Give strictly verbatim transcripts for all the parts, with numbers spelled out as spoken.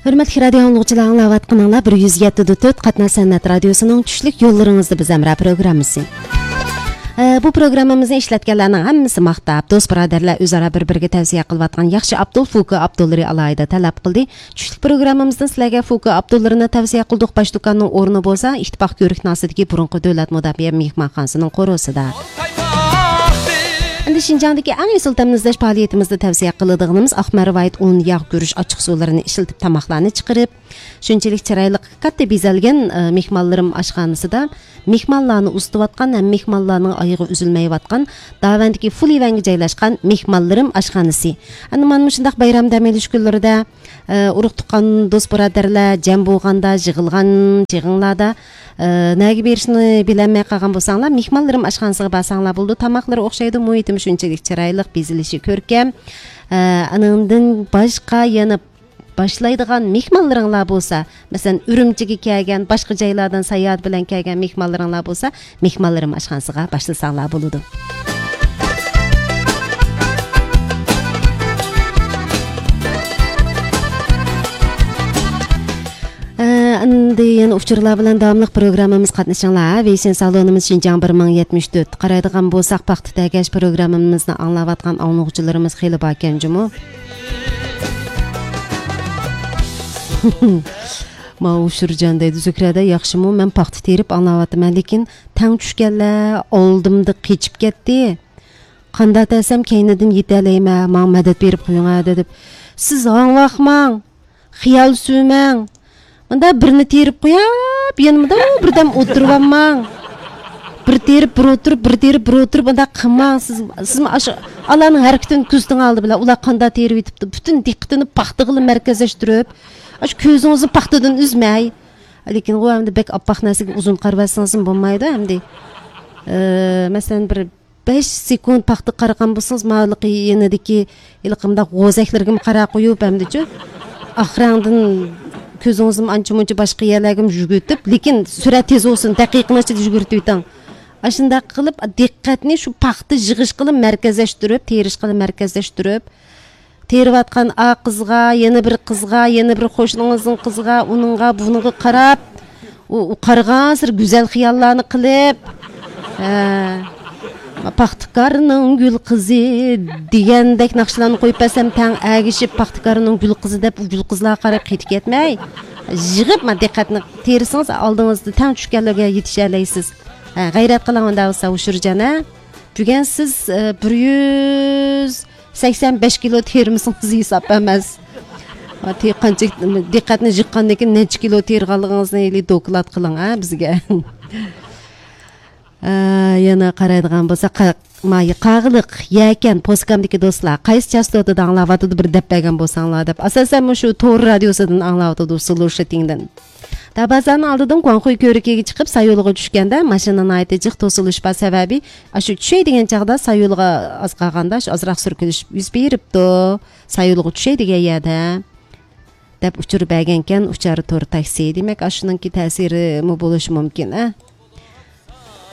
ھۆرمەتلىك رادىيو ئاڭلىغۇچىلار، ئاڭلاۋاتقىنىڭلار بىر يۈز يەتتە دۇتۇت قاتناش سەنئەت رادىيوسىنىڭ چۈشلۈك يوللىرىڭىزدا بىز ھەمراھ پروگراممىسى. ئە، بۇ پروگراممىمىزنى ئىشلەتكەنلەرنىڭ ھەممىسى ماختاپ، دوست بۇرادەرلەر ئۆزئارا بىر بىرىگە تەۋسىيە قىلىۋاتقان ياخشى ئابدۇل فۇكو ئابدۇللىرى ئالاھىدە تەلەپ قىلدى. چۈشلۈك پروگراممىمىزدىن سىلەرگە فۇكو ئابدۇللىرىنى تەۋسىيە قىلدۇق. باش دۇكاننىڭ ئورنى بولسا ئىتتىپاق كۆۋرۈكنىڭ ئاستىدىكى بۇرۇنقى دۆلەت مۇداپىئە مېھمانخانىسىنىڭ قورۇسىدا. ئەمدى شىنجاڭدىكى ئەڭ ئېسىل تەمنى ئىزدەش پائالىيىتىمىزدە تەۋسىيە قىلىدىغىنىمىز ئاق مەرۋايىت ئۇن، ياغ، گۈرۈچ، ئاچچىق سۇلىرىنى ئىشلىتىپ تاماقلارنى چىقىرىپ، شۇنچىلىك چىرايلىق، كاتتا بېزەلگەن، ئە، مېھمانلىرىم ئاشخانىسىدا مېھمانلارنى ئۇزىتىۋاتقان ھەم مېھمانلارنىڭ ئايىغى ئۈزۈلمەيۋاتقان داۋەندىكى فۇلىۋەنگە جايلاشقان مېھمانلىرىم ئاشخانىسى. ئەنە مانا مۇشۇنداق بايرام دەم ئېلىش كۈنلىرىدە ئە، ئۇرۇق-تۇغقان، دوست-بۇرادەرلەر جەم بولغاندا، يىغىلغان يىغىنلاردا، ئە، نەگە بېرىشنى بىلەلمەي قالغان بولساڭلار، مېھمانلىرىم ئاشخانىسىغا بارساڭلار بولىدۇ. تاماقلىرى ئوخشايدۇ، مۇھىتىمۇ شۇنچىلىك چىرايلىق، بېزىلىشى كۆركەم. ئە، ئانىڭدىن باشقا يەنە باشلايدىغان مېھمانلىرىڭلار بولسا، مەسىلەن، ئۈرۈمچىگە كەلگەن، باشقا جايلاردىن ساياھەت بىلەن كەلگەن مېھمانلىرىڭلار بولسا، مېھمانلىرىم ئاشخانىسىغا باشلىساڭلار بولىدۇ. ئە، ئەمدى يەنە ئۇچۇرلار بىلەن داۋاملىق پروگراممىمىز قاتنىشىڭلار. ۋېيشىن سالونىمىز شىنجاڭ بىر مىڭ يەتمىش تۆت. قارايدىغان بولساق، پاختا تەگەش پروگراممىمىزنى ئاڭلاۋاتقان ئاڭلىغۇچىلىرىمىز خېلى باركەن جۇمۇ. ما ئۇشۇرجان دەيدۇ، زۆھرەدە ياخشىمۇ؟ مەن پاختا تېرىپ ئاڭلاۋاتىمەن، لېكىن تەڭ چۈشكەنلەر ئالدىمدا قېچىپ كەتتى. قانداق دېسەم، كەينىدىن يېتەلەيمەن، ماڭا مەدەت بېرىپ قويۇڭ ھە، دەپ. سىز ھاڭۋاقماڭ، خىيال سۈرمەڭ. مۇندا بىرنى تېرىپ قويۇپ، يەنە مۇندا بىردەم ئولتۇرۇۋالماڭ. بىر تېرىپ، بىر ئولتۇرۇپ، بىر تېرىپ، بىر ئولتۇرۇپ، مۇنداق قىلماڭ. سىز، سىزمۇ ئاشۇ ئالارنىڭ ھەرىكىتىنى كۆزىتىڭ ئالدى بىلەن. ئۇلار قانداق تېرىۋېتىپتۇ، پۈتۈن دىققىتىنى پاختىغىلا مەركەزلەشتۈرۈپ، ئاشۇ كۆزىڭىزنى پاختىدىن ئۈزمەي. لېكىن ئۇ ئەمدى بەك ئاپئاق نەرسىگە ئۇزۇن قارىۋەتسىڭىزمۇ بولمايدۇ ئەمدى. ئە، مەسىلەن، بىر بەش سېكۇنت پاختا قارىغان بولسىڭىز، ماۋۇ يېنىدىكى ھېلىقى مۇنداق غوزەكلىرىگىمۇ قاراپ قويۇپ، ئەمدىچۇ ئاخىرىڭدىن كۆزىڭىزنىمۇ ئانچە-مۇنچە باشقا يەرلەرگىمۇ يۈگۈرتۈپ، لېكىن سۈرئەت تېز بولسۇن، دەقىقىنىڭ ئىچىدە يۈگۈرتۈۋېتىڭ. ئاشۇنداق قىلىپ، دىققەتنى شۇ پاختا يىغىشقىلا مەركەزلەشتۈرۈپ، تېرىشقىلا مەركەزلەشتۈرۈپ، تېرىۋاتقان ئا قىزغا، يەنە بىر قىزغا، يەنە بىر قوشنىڭىزنىڭ قىزىغا، ئۇنىڭغا، بۇنىڭغا قاراپ، ئۇ، ئۇ قارىغانسېرى گۈزەل خىياللارنى قىلىپ، ھە، پاختىكارنىڭ گۈل قىزى دېگەندەك ناخشىلارنى قويۇپ بەرسەم، تەڭ ئەگىشىپ، پاختىكارنىڭ گۈل قىزى دەپ، ئۇ گۈل قىزلارغا قاراپ قېتىپ كەتمەي، يىغىپ، ما، دىققەتنى تېرىسىڭىز، ئالدىڭىزدا تەڭ چۈشكەنلەرگە يېتىشەلەيسىز. ھە، غەيرەت قىلىڭ ئۇنداق بولسا، ئۇشۇرجان، ھە؟ بۈگۈن سىز، ئە، بىر يۈز سەكسەن بەش كىلو تېرىمىسىڭىز ھېساب ئەمەس. تې-، قانچە، دىققەتنى يىغقاندىن كېيىن نەچچە كىلو تېرىغانلىقىڭىزنى ھېلى دوكلات قىلىڭ، ھە، بىزگە. ئە، يەنە قارايدىغان بولسا، قا-، مايا قاغىلىق، يەكەن، پوسكامدىكى دوستلار، قايسى چاستوتىدا ئاڭلاۋاتىدۇ، بىر دەپ بەرگەن بولساڭلار دەپ. ئاساسەن مۇشۇ تور رادىيوسىدىن ئاڭلاۋاتىدۇ، سلۇشىتىڭدىن. دابازانىڭ ئالدىدىن گۇاڭخۇي كۆۋرۈكىگە چىقىپ، سايولىغا چۈشكەندە، ماشىنا ناھايىتى جىق توسۇلۇش بار سەۋەبى، ئاشۇ چۈشەي دېگەن چاغدا سايولىغا ئاز قالغاندا، شۇ ئازراق سۈركىلىش يۈز بېرىپتۇ. سايولىغا چۈشەي دېگەن يەردە، دەپ ئۇچۇر بەرگەنكەن ئۇچار تور تاكسى. دېمەك، ئاشۇنىڭكى تەسىرىمۇ بولۇشى مۇمكىن، ئە؟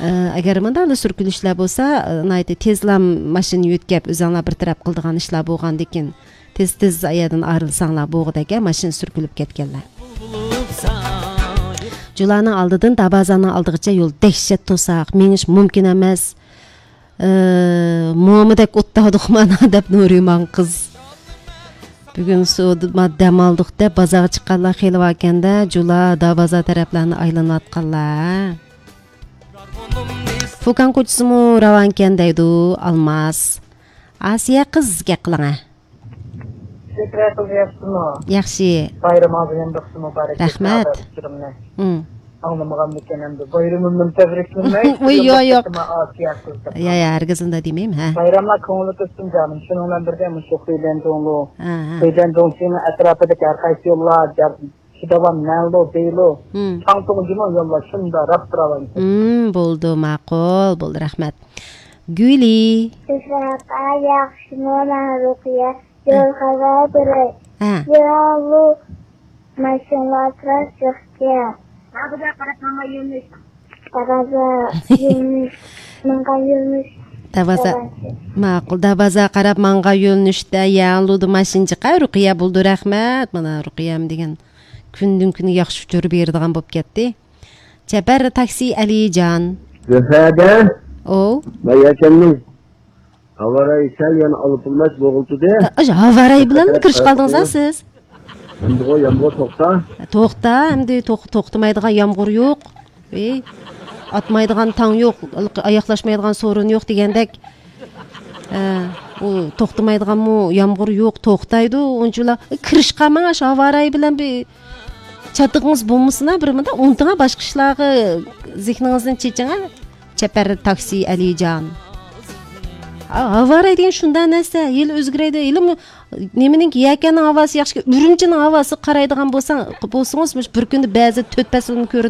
ئە، ئەگەر مۇنداقلا سۈركىلىشلەر بولسا، ئە، ناھايىتى تېزلا ماشىنا يۆتكەپ، ئۆزۈڭلار بىر تەرەپ قىلىدىغان ئىشلار بولغاندىكىن، تېز-تېز ئايەردىن ئايرىلساڭلار بولغۇدەك، ئە، ماشىنا سۈركىلىپ كەتكەنلەر. جۇلانىڭ ئالدىدىن دابازاننىڭ ئالدىغىچە يول دەھشەت توساق، مېڭىش مۇمكىن ئەمەس. ئە، مومىدەك ئوتتاغدۇق مانا، دەپ نۇرىمان قىز. بۈگۈن سۇدا ما دەم ئالدۇق دەپ بازارغا چىققانلار خېلى باركەن-دە، جۇلا دابازا تەرەپلەرنى ئايلىنىۋاتقانلار. فۇكان كوچىسىمۇ راۋانكەن دەيدۇ ئالماس. ئاسىيە قىز گەپ قىلىڭە. شۆھرەت قىز ياخشىمۇ؟ ياخشى. بايرىمىڭىز يەنە بىر قېتىم مۇبارەك بولسۇن، رەھمەت. ئۇچۇرۇمنى ئاڭلىمىغانمىكىن ئەمدى. بايرىمىمنى تەبرىكلىمەي، ۋۇي، يوق، يوق. ئاسىيە قىز دەپ. يا، يا، ھەرگىز ئۇنداق دېمەيمەن، ھە. بايراملار كۆڭۈللۈك ئۆتسۇن جانىم. شۇنىڭ بىلەن بىردە مۇشۇ خۇيلەنجۇڭلۇ، ھە، ھە. خۇيلەنجۇڭ شىنىڭ ئەتراپىدىكى ھەر قايسى يوللار، شىداۋان، مەنلۇ، بېيلۇ، مم. چاڭتۇڭ جۇمۇ يوللار شۇنداق راست راۋان. مم، بولدى، ماقۇل، بولدى، رەھمەت. گۈلى. ئىسراپا ياخشىمۇ، مەن رۇقىيە. يول خەۋەر بېرەي. ھە. يوللۇ ماشىنىلار تراس يوقكەن. قارازا قاراپ ماڭا يۆنىلىش. قارازا يۆنىلىش. ماڭا يۆنىلىش. دەرۋازا. ماقۇل، دەرۋازا قاراپ ماڭغان يۆنىلىشتە يەنلۇدا ماشىنا چىقار. رۇقىيە بولدى، رەھمەت. مانا رۇقىيەم دېگەن كۈندىن كۈنگە ياخشى ئۇچۇر بېرىدىغان بولۇپ كەتتى. چەپەر تاكسى ئەلىجان. زۆھرەدە. ئو. مەيەكەننىڭ ھاۋاراي سەل يەنە ئالپىلماس بوغۇلتىدى. ئاشۇ ھاۋاراي بىلەن كىرىشىپ قالدىڭىز ھە سىز؟ ئەمدىغۇ يامغۇر توختا. توختا، ئەمدى توخ-، توختىمايدىغان يامغۇر يوق. ئەي، ئاتمايدىغان تاڭ يوق، ئاياقلاشمايدىغان سورۇن يوق دېگەندەك. ئە، ئۇ توختىمايدىغانمۇ يامغۇر يوق، توختايدۇ. ئۇنچىلا كىرىشقا ماڭا شۇ ھاۋاراي بىلەن بىر چاتىقىڭىز بولمىسىنا، بىر مۇنداق ئۇنتۇڭا باشقا ئىشلارغا زېھنىڭىزنى چېچىڭا. چەپەر تاكسى ئەلىجان. ھا، ھاۋاراي دېگەن شۇنداق نەرسە، ھېلى ئۆزگىرەيدۇ. ھېلىمۇ نېمىنىڭكى يەكەننىڭ ھاۋاسى ياخشى، ئۈرۈمچىنىڭ ھاۋاسىغا قارايدىغان بولساڭ، بولسىڭىز، مۇشۇ بىر كۈندە بەزى تۆت پەسىلمۇ كۆرۈنۈپ